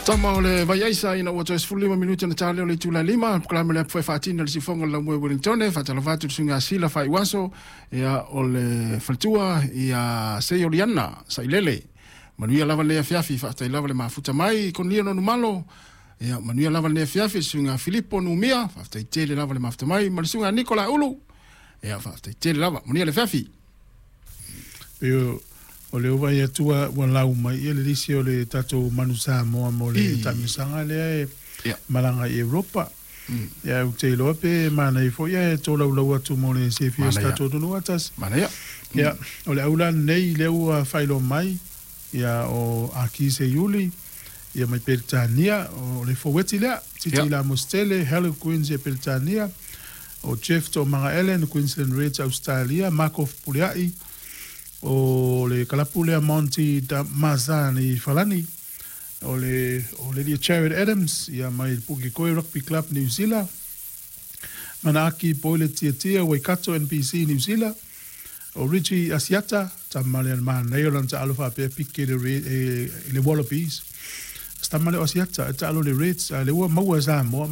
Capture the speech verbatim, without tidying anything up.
Tama o le vaiaisa ina ua toe sefululima minute ona ta lea o le itula e lima, polokalame le apu e faatina le siufofoga o le laumua i Wellington. Faatalofa atu le suiga Sila Faaiuaso, ia o le faletua ia Seioliana Sailele. Manuia lava lenei afiafi, faafetai lava le mafuta mai Konia Nonumalo. Ia manuia lava lenei afiafi le suiga Filipo Numia, faafetai tele lava le mafuta mai, ma le suiga Nikola Ulu. Ia faafetai tele lava, manuia le afiafi. Pei o le ova ia tua ua lau mai ia le lisi o le tatou Manu Samoa mo le taamilosaga lea e malaga i Europa. Ia ou te iloa pe manaia foi ae tolaulau atu mo le silafia o si tatou atunuu atasi. Manaia. Ia, o le aula lenei lea ua faailoa mai, ia o Aki Seiuli, ia mai Peretania, o le foueti lea, Titi Lamositele, Harlequins ia Peretania, o Jeff Toomaga Allen, Queensland Reds Australia, Mako Fepuleai, o le kalapu lea Monty Mazan i Falani, o le o le lia Jared Adams, ia mai Pukekohe Rugby Club New Zealand, Manaaki Boyle Tiatia Waikato N P C New Zealand, o Richie Asiata, tama le manaia o lana taalo faapea pike le, e, le Wallabies. Tama le o Asiata, e taalo le Reds, a le ua maua Samoa.